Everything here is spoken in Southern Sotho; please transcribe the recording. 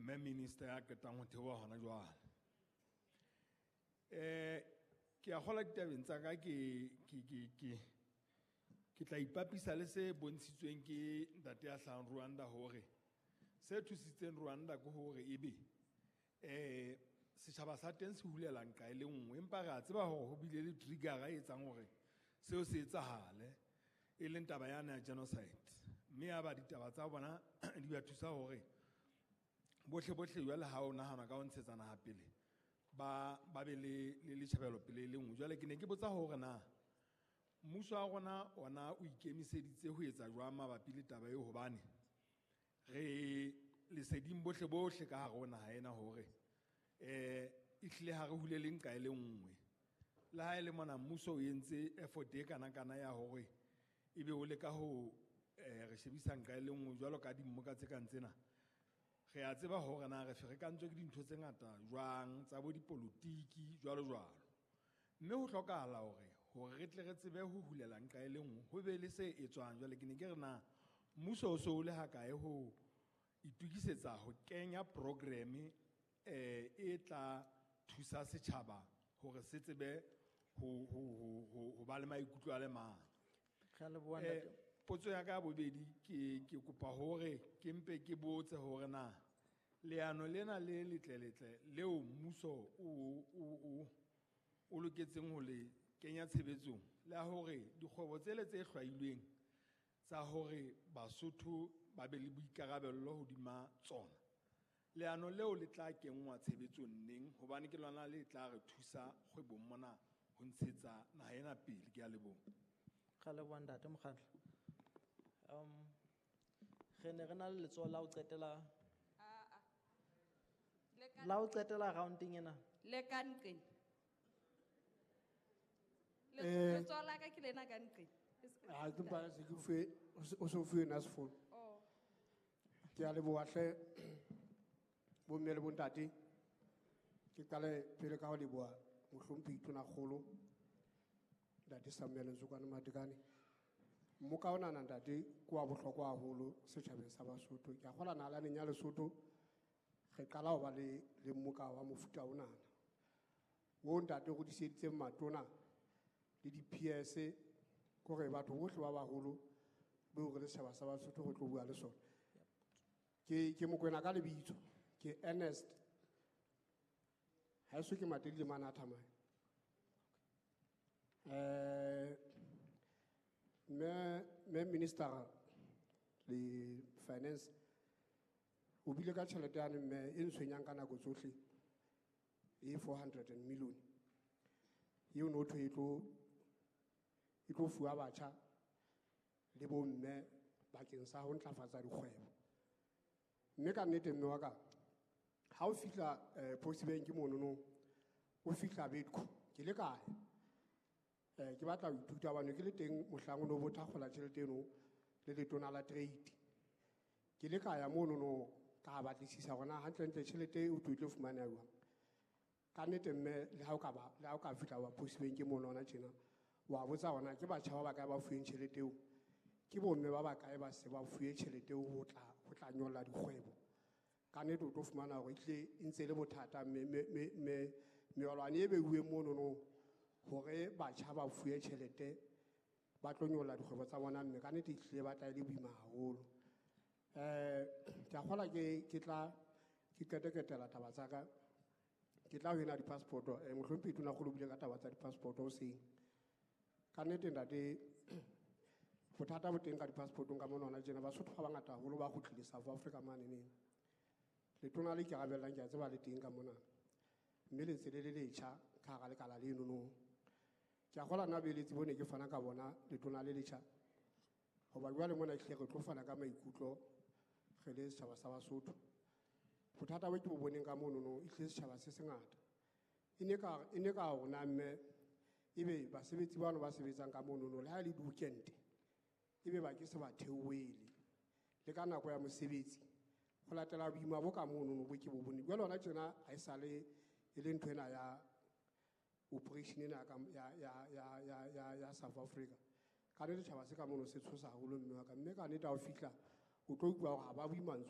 Mme Minister ya qetang ho theoha hona jwale. Ke a kgolwa ditabeng tsa ka ke tla ipapisa le se bontshitsweng ke ntate ya hlahang Rwanda, hore se thusitseng Rwanda ke hore ebe setjhaba sa teng se hulela nqa e le nngwe, empa re a tseba hore ho bile le trigger e etsang hore seo se etsahale, e leng taba yane ya genocide, mme ya ba ditaba tsa bona di ba thusa hore bohle bohle jwale ha o nahana ka ho ntshetsa naha pele, ba be le tjhebelo pele e le nngwe. Jwale ke ne ke botsa hore na mmuso wa rona ona o ikemiseditse ho etsa jwang mabapi le taba eo, hobane re leseding bohle bohle ka hare ho naha ena hore ehlile ha re hulele nqa e le nngwe. Le ha e le mona mmuso o entse effort e kana-kana ya hore ebe o leka ho re shebisa nqa e le nngwe jwalo ka dimmoka tse kang tsena. Re a tseba hore na re ferekantswe ke dintho tse ngata jwang tsa bo dipolotiki jwalo jwalo, mme ho hlokahala hore re tle re tsebe ho hulela nqa e le nngwe, ho be le se etswang. Jwale ke ne ke re na mmuso o so o le hakae ho itokisetsa ho kenya programme e tla thusa setjhaba hore se tsebe ho ba le maikutlo a le mang. Re a leboha, ntate. Potso ya ka ya bobedi, ke kopa hore ke mpe ke botse hore na leano lena le letle-letle leo mmuso o loketseng ho le kenya tshebetsong la hore dikgwebo tsele tse hlwailweng tsa hore Basotho ba be le boikarabello hodima tsona, leano leo le tla kenngwa tshebetsong neng, hobane ke lona le tla re thusa kgwebong mona ho ntshetsa naha ena pele. Ke a leboha. Re a leboha, ntate Mokgatlo. Re ne re na le letsoho la ho qetela. Le ka La ho qetela rounding ena. Le ka nqeng. Letsoho la ka ke lena ka nqeng. Ha ke mpa se ke fuwe, o se o fuwe nna sefono. Oh. Ke a leboha hle, bomme le bontate. Ke qale pele ka ho leboha mohlomphehi Tonakgolo, Ntate Samuel Ntsokwane Matekane. Mmoka onana ntate ke wa bohlokwa haholo setjhabeng sa Basotho. Ke a kgolwa nalaneng ya Lesotho re qala ho ba le mmoka wa mofuta onana. O ntate o hodiseditseng matona le di-PS, kore batho bohle ba baholo beo re le setjhaba sa Basotho re tlo bua le sona. Ke Mokoena ka lebitso, ke Ernest. Haeso ke Matelile mane a Thamane. Mme Minister le Finance o bile ka tjhelete yane mme e ntshwenyang ka nako tsohle e 400 and million. Eo no thwe e tlo fuwa batjha le bomme bakeng sa ho ntlafatsa dikgwebo. Mme ka nnete mme wa ka, ha o fihla Post Bank monono, o fihla Bedco, ke le kae? Ke batla ho ithuta hobane ke le teng mohlang o no bo thakgola tjhelete eno le letona la trade. Ke le ka ya monono ka batlisisa hore na hantlentle tjhelete e o tlo fumaneha jwang. Ka nnete mme, le ha o ka ba, le ha o ka fihla wa Post Bank mono hona tjena, wa botsa hore na ke batjha ba bakae ba fuweng tjhelete eo, ke bomme ba bakae ba se ba fuwe tjhelete eo ho tla nyolla dikgwebo. Ka nnete o tlo fumana hore ehlile e ntse e le bothata, mme meolwane e beuweng monono hore batjha ba fuwe tjhelete ba tlo nyolla dikgwebo tsa bona, mme ka nnete ehlile ba tla e le boima haholo. Ke a kgolwa ke tla ke qeteketela taba tsa ka. Ke tla ho ena di-passport-o. Mohlomphehi Tonakgolo o buile ka taba tsa di-passport hoseng. Ka nnete ntate, bothata bo teng ka di-passport-ong ka mona hona tjena, Basotho ba bangata haholo ba kgutlile South Africa mane neng. Letona le ikarabellang ke a tseba le teng ka mona. Mme le ntse le le letjha ka hara lekala leno no. Ke a kgolwa nna boeletsi bo ne ke fana ka bona letona le letjha. Hoba jwale mona ehlile re tlo fana ka maikutlo re le setjhaba sa Basotho. Bothata bo ke bo boneng ka mono no, ehlile setjhaba se sengata. E ne ka, e ne ka rona mme ebe basebetsi bano ba sebetsang ka mono no, le ha e le di-weekend, ebe ba ke se ba theohele. Le ka nako ya mosebetsi, ho latela boima bo ka mono no bo ke bo bone. Jwale hona tjena ha esale e le ntho ena ya operation ena ya South Africa. Ka nnete setjhaba se ka mono se tshosa haholo mme wa ka. Mme ka nnete ha o fihla, o tlo utlwa hore ha ba bue mantswe.